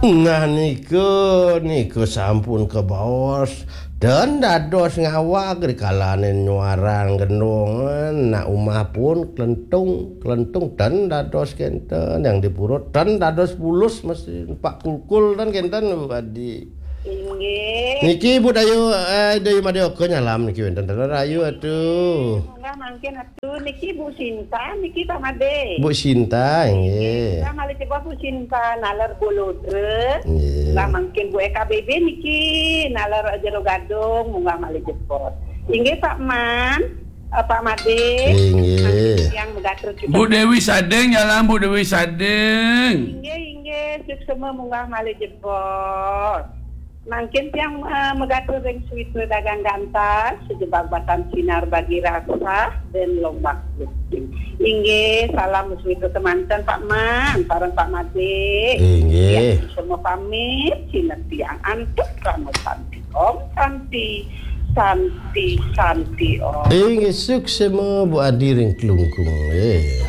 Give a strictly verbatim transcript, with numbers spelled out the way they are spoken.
Nah, nika, nika sampun kabaos. Ten dados ngawag ri kalaning nyuarang gendongan, nak umah pun klentung, klentung ten dados kenten, yang di purut ten dados bulus, mesti Pak Kulkul ten kenten, Bu Adi. Inggih. Niki Bu Dayu, eh, Dayu Madyoka nyalam niki wenten ten rayu atuh. Munggah mangkin atuh niki Bu Sinta, niki Pak Made. Bu Sinta, inggih. Munggah malih jebos Bu Sinta, naler Bolodre. Inggih. Munggah mangkin Bu E K B B niki, naler Jero Gadung, munggah malih jebos. Inggih Pak Man, eh, Pak Made. Inggih. Mangkin yang megatur kita. Bu Dewi Sadeng, nyalam Bu Dewi Sadeng. Inggih, inggih, suksma munggah malih jebos. Mangkin tiang, eh, megatur ring Suwitra Dagang Gantah, sejebag batan sinar bagi rasa dan lombak bukti. Inggih, salam Suwitra semanten Pak Man, sareng Pak Made. Inggih. Tiang semua pamit, sineb tiang antuk krama santi. Om Santi, Santi, Santi Om. Inggih, suksma Bu Adi ring Klungkung, eh.